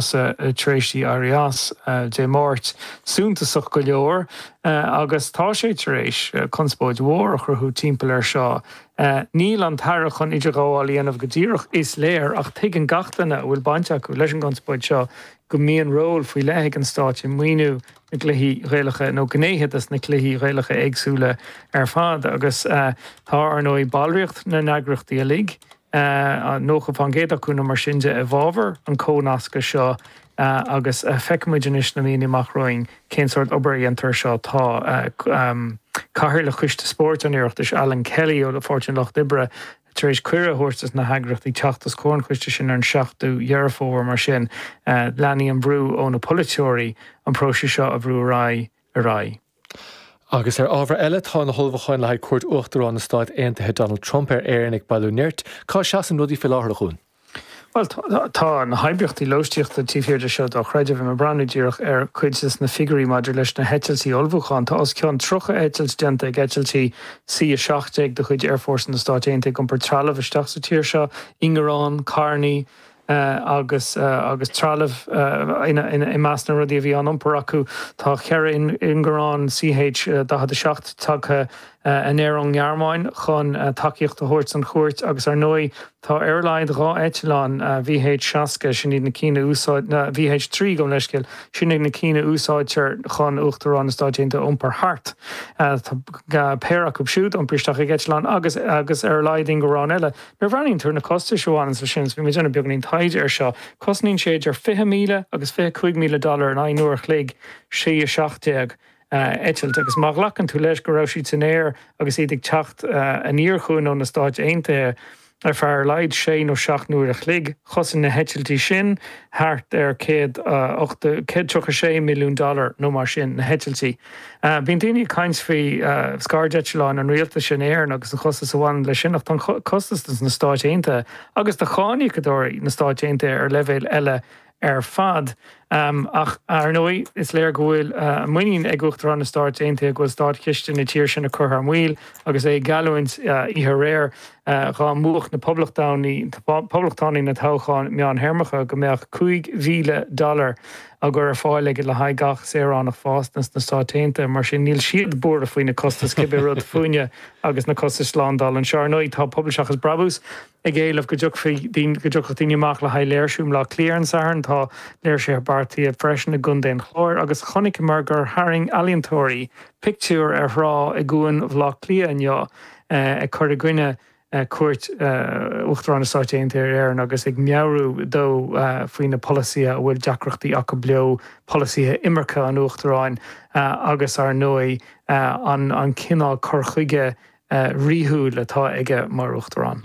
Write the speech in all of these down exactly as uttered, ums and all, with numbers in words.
tar éis di éirí as Dé Máirt suntasach go leor agus tá sé tar éis conspóid mhór a chruthú timpeall air seo. Níl an tAire chun idirghabháil a dhéanamh go díreach, is léir, ach tuigeann gach duine a bhfuil baint acu leis an gconspóid seo go mbíonn ról faoi leith ag an Stát i maoiniú na gcluichí Gaelacha nó gnéithe de na cluichí Gaelacha éagsúla ar fad agus tá ar ndóigh ballraíocht na n-eagraíochtaí uilig nócha faoin gcéad acu nó mar sin de i bhfabhar an chónasctha seo agus feicfimid anois na míonna amach romhainn cén sórt obair a dhéantar seo. Tá Cathaoirleach Choiste Spóirt an Oireachtais, Alan Kelly ó Pháirtí an Lucht Oibre, tar éis cuireadh a thabhairt dos na heagraíochtaí teacht os comhair an choiste sin ar an seachtú Dheireadh Fómhair. Mar sin, leanfaidh an brú ó na polaiteoirí an próiseas seo a bhrú ar aghaidh ar aghaidh. Agus ar ábhar eile, tá na hullmhúcháin le haghaidh cuairt Uachtarán na Stát Aontaithe Donald Trump ar Éirinn ag bailiú nirt. Cá seasann rudaí faoi láthair, a Chuain? Bhuel, tá na hoibríochtaí lóistíochta taobh thiar de seo dochreidte. Bhí mé ag breathnú díreach ar chuid de na figiúirí maidir leis na heitiltí ullmhúcháin. Tá os cionn tríocha eitilt déanta ag eitiltí C a seacht déag de chuid Aerfhórsa na Stát Aontaithe ag iompar trealamh isteach sa tír seo, ingearán, carrannaí, agus agus trealamh i measc na rudaí a bhí á n-iompar acu. Tá ceithre ingearán C H daichead a seacht tagtha aniar ón nGearmáin chun tacaíocht a thabhairt don chuairt agus ar ndóigh tá ar a laghad dhá eitleán V H seasca, sin iad na cinn a úsáid, V H trí gabh mo leithscéal, sin iad na cinn a úsáidtear chun Uachtarán na Stáit Aontaithe a iompar thart. Tá péire acu siúd iompaithe isteach ag eitleán agus agus ar a laghad ingearán eile. Nuair a bhreathnaíonn tú ar na costais a bhaineanns leis sin, is bhí mé ag déanamh beagáinín taighde air seo, cosnaíonn sé idir fiche míle agus fiche cúig míle dollar in aghaidh an uair a chloig, C a seacht déag eitilt. Agus má ghlacann tú leis go raibh siad san aer agus iad ag teacht aniar chugainn ó na Stáit Aontaithe ar feadh ar a laghad sé nó seacht n-uair a chloig, chosain na heitiltí sin thart ar céad ochtó, céad tríocha sé milliún dollar nó mar sin, na heitiltí. Bíonn daoine ag caint faoi scairdeitleáin an rialtais in Éirinn agus an costas a bhaineann leis sin ach tá an costas dos na Stáit Aontaithe agus do cháiníocadóirí na Stáit Aontaithe ar leibhéal eile ar fad. Ach ar ndóigh is léir go bhfuil muinín ag Uachtarán na Stáit Aontaithe go bhfuil státchiste na tíre sin á cur thar maoil agus é ag geallúint oíche aréir dhá mbuafadh na Poblachtánaigh na toghcháin meánthéarmacha go mbeadh cúig mhíle dollar á gcur ar fáil aige le haghaidh gach saoránach fásta sna Stáit Aontaithe. Mar sin, níl siad buartha faoi na costais, cibé rud fúinne agus na costais slándála anseo. Ar ndóigh, tá Pobal Seachas Brabús ag éileamh go dtiocfaí go dtiocfadh daoine amach le haghaidh léirsiú i mBleá Cliath ar an Satharn. Tá léirsithe beartaithe freisin i gContae an Chláir agus chonaiceamar gur tharraing ealaíontóirí pictiúr ar thrá i gCuan Bhaile Átha Cliath inniu ag cur i gcoinne cuairt Uachtarán na Stáit Aontaithe ar Éirinn agus ag meabhrú dó faoi na polasaithe a bhfuil deacrachtaí acu leo, polasaithe imirce an Uachtaráin agus ar ndóigh an cineál cur chuige ríthúil atá aige mar Uachtarán.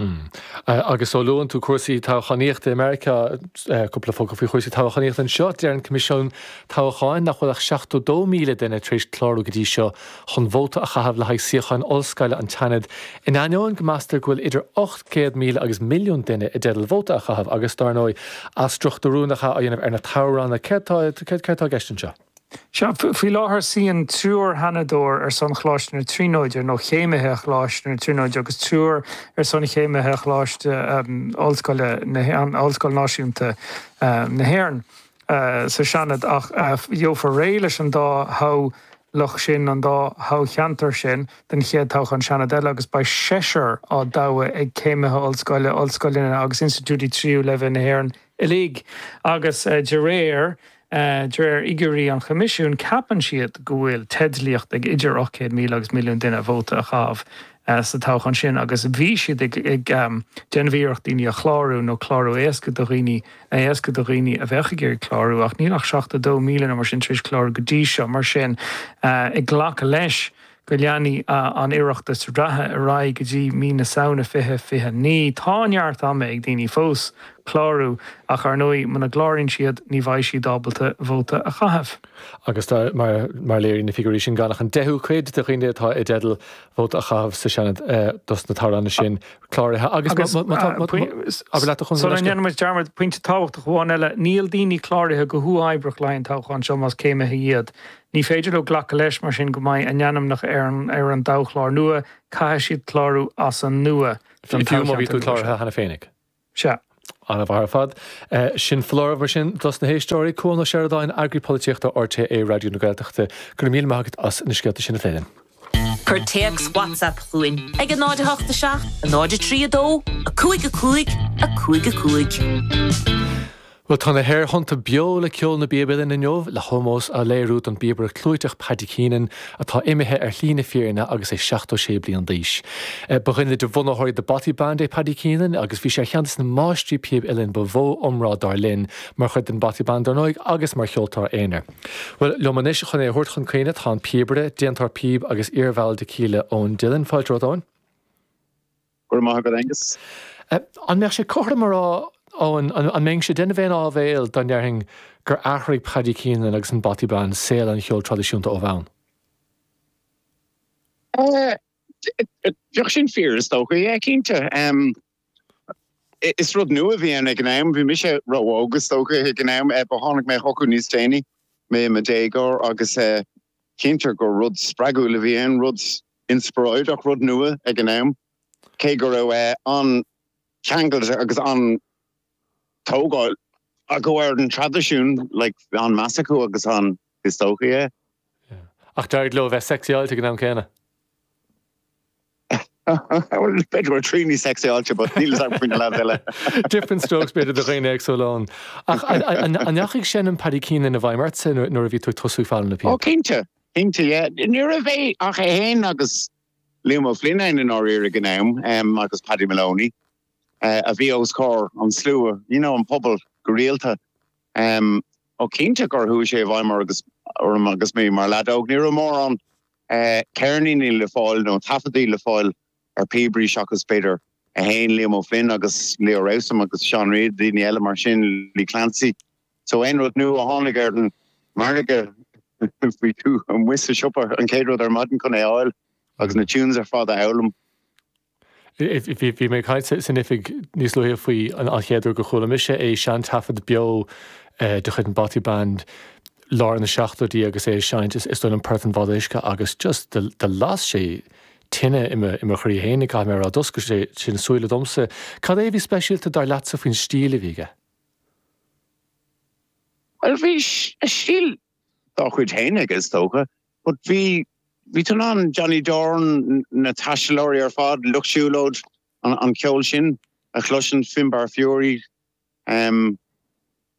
Agus ó luann tú cúrsaí toghchánaíochta i Meiriceá, cúpla focal faoi chúrsaí toghchánaíochta anseo, deir an Coimisiún Toghcháin nach bhfuil ach seachtó dó míle duine tar éis clárú go dtí seo chun vóta a chaitheamh le haghaidh suíocháin ollscoile an tSeanaid, in ainneoin go meastar go bhfuil idir ocht gcéad míle agus milliún duine i dteideal vóta a chaitheamh agus, dar ndóigh, athstruchtúrú á dhéanamh ar na toghranna. Céard tá i gceist anseo? Sea, faoi láthair suíonn triúr Sheanadóir ar son Choláiste na Tríonóide, nó chéimithe Choláiste na Tríonóide, agus triúr ar son chéimithe Choláiste Ollscoile na, Ollscoil Náisiúnta na hÉireann. sa Seanad ach gheofar réidh leis an dá thoghlach sin, an dá thoghcheantar sin, don chéad toghchán Seanaid eile agus beidh seisear á dtoghadh ag céimithe ollscoile, ollscoileanna agus institiúidí tríú leibhéal na hÉireann uilig agus de réir de réir fhigiúirí an Choimisiúin ceapann siad go bhfuil teidlíocht ag idir ocht gcéad míle agus milliún duine vóta a chaitheamh sa toghchán sin agus bhí siad ag déanamh iarracht daoine a chlárú nó clárú éasca do dhaoine a éascú do dhaoine a bheadh ag iarraidh clárú ach níl ach seachtó dó míle nó mar sin tar éis clárú go dtí seo. Mar sin, ag glacadh leis go leanfaidh an Oireachtas reatha ar aghaidh go dtí mí na Samhna fiche fiche naoi, tá neart ama ag daoine fós clárú ach ar ndóigh muna gcláraíonn siad ní bheidh siad ábalta vóta a chaitheamh. Agus mar a léiríonn na figiúirí sin gan ach an deichiú cuid de dhaoine atá i dteideal vóta a chaitheamh sa Seanad dos na toghranna sin cláraithe. Agus má tá, abair leat a Chonradh. Sula ndéanann muid dearmad, pointe tábhachtach amháin eile, níl daoine cláraithe go huathoibríoch le haghaidh an toghcháin seo más céimithe iad. Ní féidir leo glacadh leis mar sin go mbeidh a n-ainmneacha ar an ar an dtoghchlár nua, caithfidh siad clárú as an nua don Fiú má bhí toghcheantar tú nua seo. cláraithe cheana féinig. Sea. An-mhaith ar fad. Sin foláireamh mar sin dos na héisteoirí. Cuan Ó Seireadáin, Eagraí Polaitíochta RTÉ Raidió na Gaeltachta, go raibh míle maith agat as na scéalta sin a phlé linn. Cuir téacs WhatsApp chugainn ag a náid a hocht a seacht, a náid a trí a dó, a cúig a cúig, a cúig a cúig. Bhuel tá na haerthonnta beo le ceol na bpíob uilleann inniu le hómós a léiriú don bpíobaire clúiteach Paddy Keenan atá imithe ar shlí na fírinne agus é seachtó sé bliain d'aois. Ba dhuine de bhunaitheoirí The Bothy Band é Paddy Keenan agus bhí sé ar cheann de na máistrí píob uilleann ba mhó iomrá dár linn mar chuid den Bothy Band dar ndóigh agus mar cheoltóir aonair. Bhuel liom anois chun é a thabhairt chun cuimhne tá an píobaire, déantóir píob agus iarbhall de Kíla Eoin Dillon. Fáilte romhat Eoin. Go raibh maith agat Aengus. An mbeadh sé cothrom a rá Eoin, an mbeinnse ag déanamh aon áibhéil dá ndéarfainn gur athraigh Paddy Keenan agus an Bothy Band saol an cheoil traidisiúnta ó bhonn? Bheadh sin fíor is dócha, yeah, cinnte. Is rud nua a bhí ann ag an am, bhí mise ró-óg is dócha ag an am, but tháinig mé chucu níos déanaí, mé i mo dhéagóir agus cinnte gur rud spreagúil a bhí ann, rud inspioráideach, rud nua ag an am, cé go raibh an-cheangal agus an tógáil acu ar an traidisiún, like, an-mheas acu agus an is dócha, yeah. Ach d'éirigh leo bheith sexyáilte ag an am céanna. Well, b'fhéidir go raibh Trini sexyáilte, but níl a fhios agam faoi na lads eile. Different strokes b'fhéidir do dhaoine éagsúla ann. Ach an ndeachaigh seinm Paddy Keenan i bhfeidhm ortsa nuair a bhí tú ag tosú ag foghlaim na píob? Oh, cinnte, cinnte, yeah. Ní raibh é ach é féin agus Liam Ó Floinn ann i ndáiríre ag an am, agus Paddy Moloney, a bhí os comhair an slua, you know, an pobal go rialta. Ó cinnte gur chuaigh sé i bhfeidhm agus orm agus mé mar leaid óg. Ní raibh mórán ceirníní le fáil nó taifeadtaí le fáil ar píobairí seachas b'fhéidir é féin, Liam Ó Floinn agus Leo Rowsome agus Seán Reid, daoine eile mar sin, Lee Clancy. So aon rud nua a tháinig ar an margadh bhí tú amuigh sa siopa an chéad rud ar maidin chun é a fháil agus na tunes ar fad a fhoghlaim. Bhí mé ag caint san oifig níos luaithe faoi an chéad uair gur chuala mise é seantaifead beo de chuid an Bothy Band lár na seachtóidí agus é ag seinnt is dóigh liom Port an Bháid Uisce agus just do las sé tine i mo chroí féin, caithfidh mé a rá, d'oscail sé sin súile domsa. Cad é a bhí speisialta dar leatsa faoin stíl a bhí aige? Bhuel bhí stíl dá chuid féin aige is dócha, but bhí bhí tú in ann Johnny Doran, na Taistealóirí ar fad, Lucht Siúlóid, an, an ceol sin a chloisint, Finbar Furey. Um,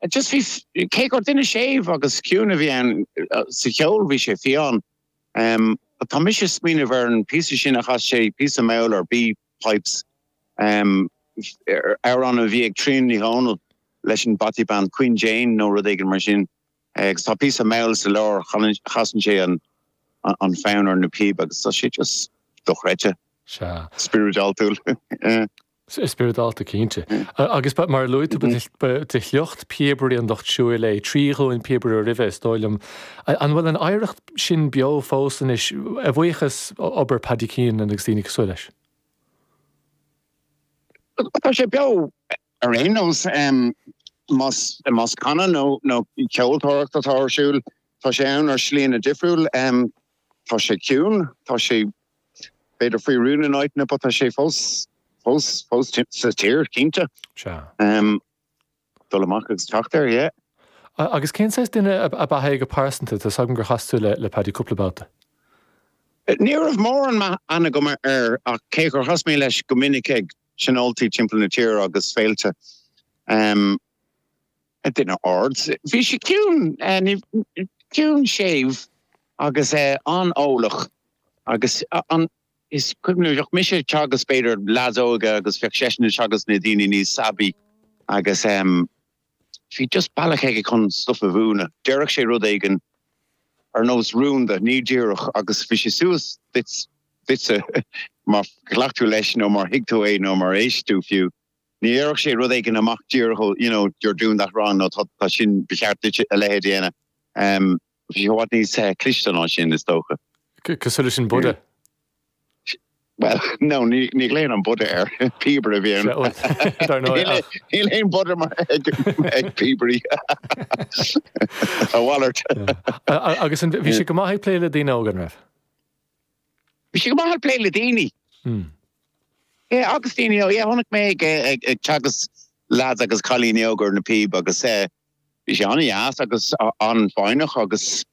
just bhí cé gur duine séimh agus ciúin a bhí ann sa cheol bhí sé fiáin. Um, but tá mise ag smaoineamh ar an píosa sin a chas sé píosa mall ar B pipes um, amhrán a bhí ag Tríona Ní Dhomhnaill leis an Bothy Band Queen Jane nó rud éigin mar sin. Agus tá píosa mall sa lár chasann sé an an fonn ar na píob agus tá sé just dochreidte. Sea. Spioradáltúil. Spioradálta cinnte. Agus mar a luaigh tú ba de shliocht píobairí an lucht siúil é, trí ghlúin píobaire roimhe is dóigh liom. An bhfuil an oidhreacht sin beo fós anois a bhuíochas obair Paddy Keenan agus daoine cosúil leis? Tá sé beo ar aon nós más más canadh nó nó ceoltóireacht atá ar siúl, tá sé ann ar shlíanna difriúil. Tá sé ciúin, tá sé b'fhéidir faoi rún in áiteanna, but tá sé fós fós fós sa tír cinnte. Sea. Um, dul amach agus teacht air, yeah. Agus cén saghas duine ab ea é go pearsanta? Tá 's agam gur chas tú le le Paddy cúpla babhta. Ní raibh mórán aithne agam air ach cé gur chas mé leis go minic ag tionóltaí timpeall na tíre agus féilte. Um, duine ard. Bhí sé ciúin, ciúin séimh agus an-eolach agus an is cuimhin liom bheadh mise ag teagasc b'fhéidir leaids óga agus bheadh seisean ag teagasc na daoine níos aibí agus um, bhí just bealach aige chun stuff a mhúineadh. Déarfadh sé rud éigin ar nós rúnda, ní díreach agus bhí sé suas duit duitse má ghlac tú leis nó mar thuig tú é nó mar éist tú fiú. Ní dhéarfadh sé rud éigin amach díreach ó you know you're doing that wrong nó tá tá sin ba cheart duit a leithéid a dhéanamh. Um, bhí sé i bhfad níos eh, cliste ná sin is dócha. Cosúil leis an Buddha. Well, no, ní ní ghlaonn an Buddha air píobaire a bhí ann. Dar ndóigh, ach. Níl aon Buddha mar ag ag píobairí. A mhalairt. Agus an bhí sé go maith ag plé le daoine óga, an raibh? Bhí sé go maith ag plé le daoine. Hmm. Yeah, agus daoine ó, yeah, chonaic mé ag ag ag teagasc Lads agus cailíní óga ar na píob agus eh, bhí sé an-deas agus an-fhoighneach agus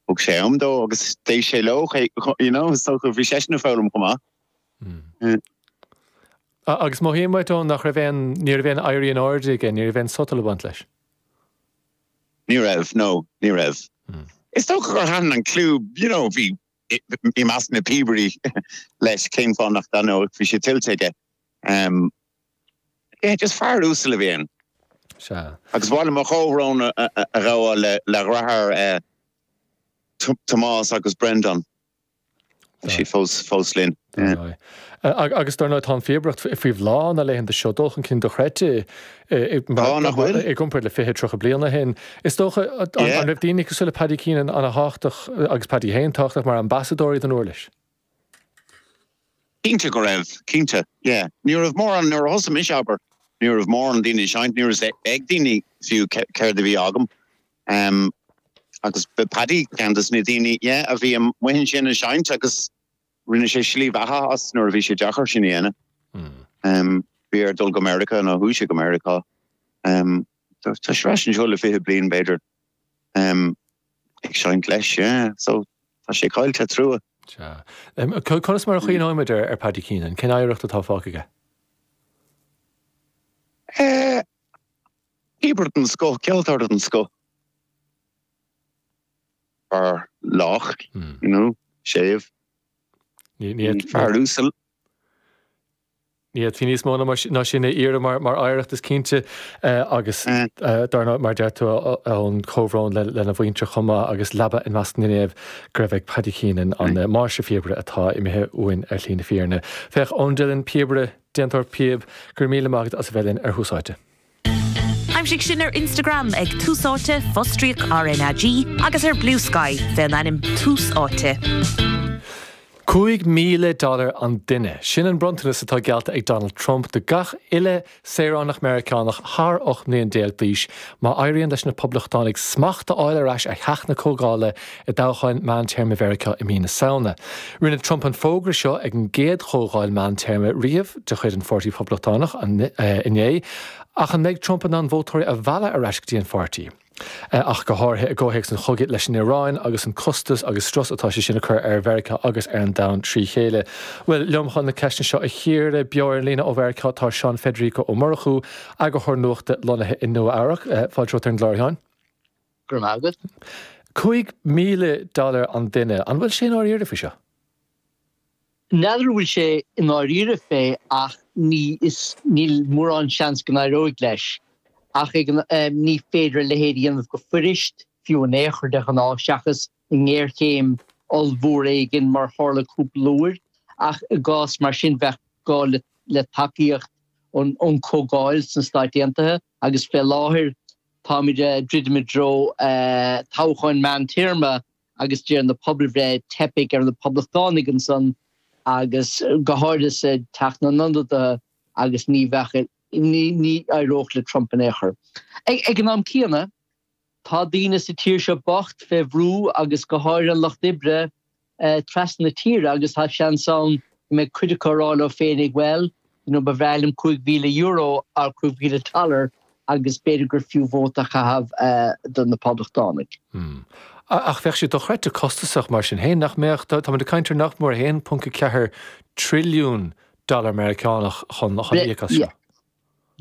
thug sé am dó agus d'éist sé leo you know, so bhí seisean ag foghlaim chomh maith. Hmm. Agus mothaím uait Eoin nach raibh aon ní raibh aon éirí in airde aige, ní raibh aon sotal ag baint leis. Ní raibh, no, ní raibh. Hmm. Is dócha gur thaitin an clú, you know, bhí i measc na píobairí leis cén fáth nach dtaitneodh, bhí sé tuillte aige. Um, yeah, just fear uasal a bhí ann. Sea. Agus ba mhaith liom mo chomhbhrón a ghabháil le le dheartháir eh, Tomás agus Brendan. Tá siad fós fós linn. Agus dar ndóigh tá an phíobaireacht faoi bhláth na laethanta seo dul chun cinn dochreidte i gcomparáid le fiche tríocha bliain ó shin. Is dócha an raibh daoine cosúil le Paddy Keenan an-tábhachtach agus Paddy féin tábhachtach mar ambasadóirí don uirlis? Cinnte go raibh, cinnte, yeah. Ní raibh mórán nuair a thosaigh mise abair, ní raibh mórán daoine ag seinnt, ní raibh ag daoine fiú céard a bhí agam. Um, agus ba Paddy ceann des na daoine, yeah, a bhí amuigh ansin ag seinnt agus rinne sé slí bheatha as nuair a bhí sé deacair sin a dhéanamh. Mm. Um, bhí air dul go Meiriceá nó chuaigh sé go Meiriceá. Um, tá sé ar ais anseo le fiche bliain b'fhéidir. Um, ag seinnt leis, yeah. So tá sé caillte, trua. Sea. Conas mar a chuimhneoimid ar ar Paddy Keenan? Cén oidhreacht atá fágtha aige? Eh, píobaire den scoth, ceoltóir den scoth. Fear lách, Hmm. you know, séimh. Ní ní Fear uasal. Ní fhéadfaí níos mó ná sin a iarraidh mar oidhreacht is cinnte agus dar ndóigh mar deir tú an comhbhrón lena mhuintir chomh maith agus leaba i measc na naomh go raibh ag Paddy Keenan an máistirphíobaire atá imithe uainn ar shlí na fírinne. Féach Eoin Dillon, píobaire, déantóir píob, go raibh míle maith agat as a bheith linn ar Thús Áite. Aimsigh sinn ar Instagram ag Tús Áite, fostríoc RnaG agus ar Bluesky fén ainm Tús Áite. Cúig míle dollar an duine. Sin an bronntanas atá geallta ag Donald Trump do gach uile saoránach Meiriceánach thar ocht mbliain déag d'aois má éiríonn leis na Poblachtánaigh smacht a fháil ar ais ar Theach na Comhdhála i dtoghcháin meántéarma Mheiriceá i mí na Samhna. Rinne Trump an fógra seo ag an gcéad chomhdháil meántéarma riamh de chuid an Pháirtí Phoblachtánach inné, ach an mbeidh Trump in ann vótóirí a mhealladh ar ais go dtí an pháirtí? Ach go háirithe i gcomhthéacs an chogaidh leis an Iaráin agus an costas agus strus atá sé sin a chur ar Mheiriceá agus ar an domhan trí chéile. Bhuel, liom chun na ceisteanna seo a chíoradh beo ar an líne ó Mheiriceá tá Seán Federico Ó Murchú, eagarthóir nuachta lonnaithe i Nua Eabhrac. Fáilte romhat ar an gclár, a Sheáin. Go raibh maith agat. Cúig míle dollar an duine, an bhfuil sé i ndáiríre faoi seo? N'fheadar an bhfuil sé i ndáiríre fé ach ní is níl mórán seans go n-éireoidh leis. Ach ag an ní féidir a leithéid a dhéanamh go fuirist, fiú in aon chor de ghnáth, seachas i ngéarchéim ollmhór éigin mar tharla cúpla uair. Ach i gcás mar sin bheadh gá le le tacaíocht ón ón Chomhdháil sna Stáit Aontaithe agus fé láthair táimid ag druidim i dtreo toghcháin meántéarma agus deir na pobalbhreith teipfidh ar na Poblachtánaigh ansan agus go háirithe sa Teach na nIonadaithe agus ní bheadh ní ní éireodh le Trump in aon chor. Ag an am céanna tá daoine sa tír seo bocht fé bhrú agus go háirithe an lucht oibre trasna na tíre agus tá seans ann go mbeidh cuid acu ag rá leo féinig bhuel you know ba bhreá liom cúig mhíle euro or cúig mhíle dollar agus b'fhéidir gur fiú vóta a chaitheamh do na Poblachtánaigh. Ach bheadh sé dochreidte costasach mar sin féin, nach mbeadh? Táimid ag caint ar nach mór a haon ponc a ceathair trilliún dollar Meiriceánach chun íoc as seo.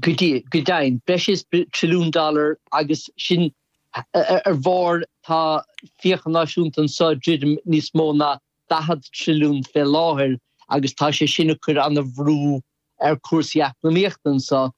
Go deimhin, breis is trilliún dollar agus sin ar bharr tá fiacha náisiúnta anseo ag druidim níos mó ná daichead trilliún fé láthair agus tá sé sin ag cur an-bhrú ar chúrsaí eacnamaíochta anseo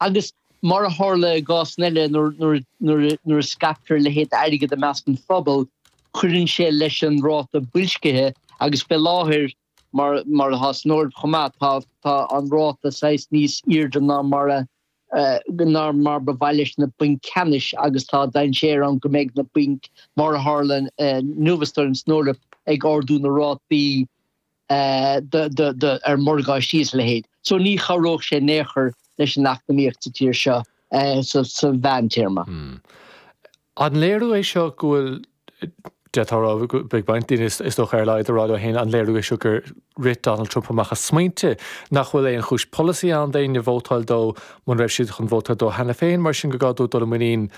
agus mar a tharla i gcásanna eile nuair a scaiptear a leithéid d'airgead i measc an phobail, cuireann sé leis an ráta boilscithe agus fé láthair, mar mar atá san Eoraip chomh maith, tá tá an ráta saghas níos airde ná mar a ná mar ba mhaith leis na bainc ceannais agus tá dainséar ann go mbeidh na bainc, mar a tharla inniu is dóigh liom san Eoraip, ag ardú na rátaí ar mhorgáistí is a leithéid. So ní chabhródh sé in aon chor leis an eacnamaíocht sa tír seo sa mheántéarma. An léiriú é seo go bhfuil D'fhéadfá a rá go mbeidh roinnt daoine is dócha ar a laghad ag rá leo féin an léiriú é seo gur rith Donald Trump amach as smaointe, nach bhfuil aon chúis polasaí ann d'éinne vótáil dó muna raibh siad chun vótáil dó cheana féin, mar sin go gá dó dul i muinín